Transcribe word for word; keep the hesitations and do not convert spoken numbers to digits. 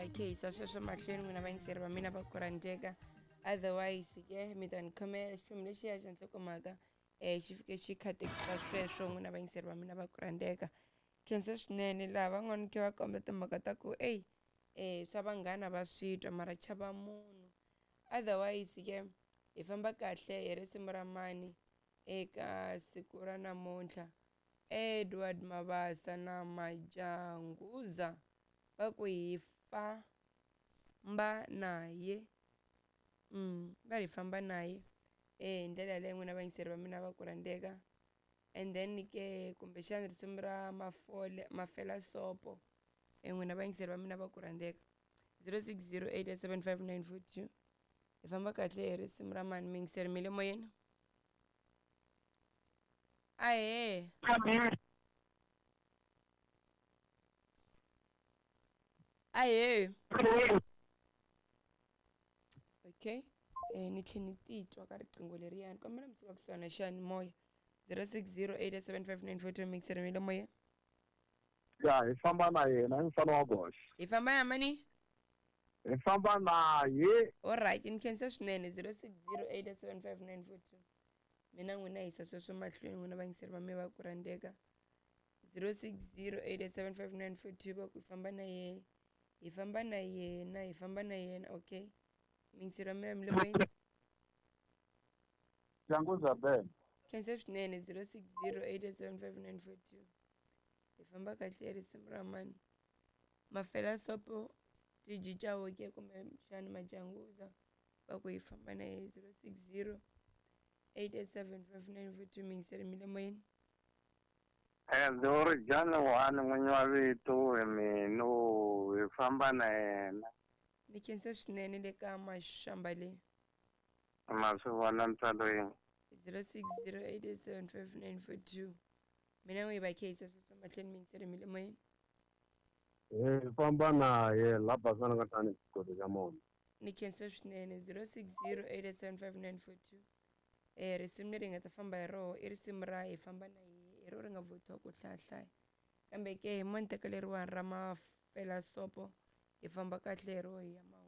va khe hisa sweswo mahlweni n'wina vayingiseri va mina va ku rhandzeka. Otherwise ke mi ta ni khomela xiphemu lexiya xa nhlokomhaka um xi fike xi khatekisa sweswo n'wina vayingiseri va mina va ku rhandzeka. Khensa swinene laha van'wani khe va komba timhaka ta ku eyi um swa vanghana va swi twa mara chava munhu. Otherwise ke hi famba kahle hi risimu ra mani eka siku ra namuntlha. Edward Mabasa na Majanguza va ku hi famba na ye. Mm, va hi famba na ye eh hi ndlela yaleyo n'wina vayingiseri va mina va ku rhandzeka. And then ke kumbexana risimu ra mafole mafela sopo e n'wina vayingiseri va mina va ku rhandzeka. zero six zero eight seven five nine four two. Hi famba kahle hi risimu ra mani miyingiseri mi le moyeni. Ahee. Ahee. Okay. Eh ni tlhe ni titwa ka riqingho leriyani kombela mi suka kusuhana na xiyanimoya zero six zero eight seven five nine four two miyingiseri mi le moyeni. Ya hi famba na yena hi mfana wa goxe. Hi famba na mani? Hi famba na ye. Alright, ni khensa swinene zero six zero eight seven five nine four two. Mina n'wina hisa sweswo mahlweni n'wina vayingiseri va mina va ku rhandzeka. zero six zero eight seven five nine four two va ku hi famba na yena. Hi famba na yena, hi famba na yena, okay. Miyingiseri wa mina mi le moyeni. Janguza Ben. Khensa swinene zero six zero eight seven five nine four two. Hi famba kahle hi risimu ra mani. Mafela sopo T G Chauke kumbe xana Majanguza va ku hi famba na yena zero six zero eight seven five nine four two miyingiseri mi le moyeni. Ri jani one n'winyi wa vito hi mino hi famba na yena. Ni khensa swinene le ka maxamba leyi. Ma swi vona ntswalo yini. zero six zero eight seven five nine four two. Mina n'wi va khehisa sweswo mahlweni miyingiseri mi le moyeni. Hi famba na ye la basana ka tani xikolo xa mona. Ni khensa swinene zero six zero eight seven five nine four two. Eh risimu leri hi nga ta famba hi roho i risimu ra hi famba na ye hi ro ri nga vuthiwa ku hlayahlaya. Kambe ke hi mo ni teka leriwani ra mafela sopo hi famba kahle hi roho hi ya mahungu.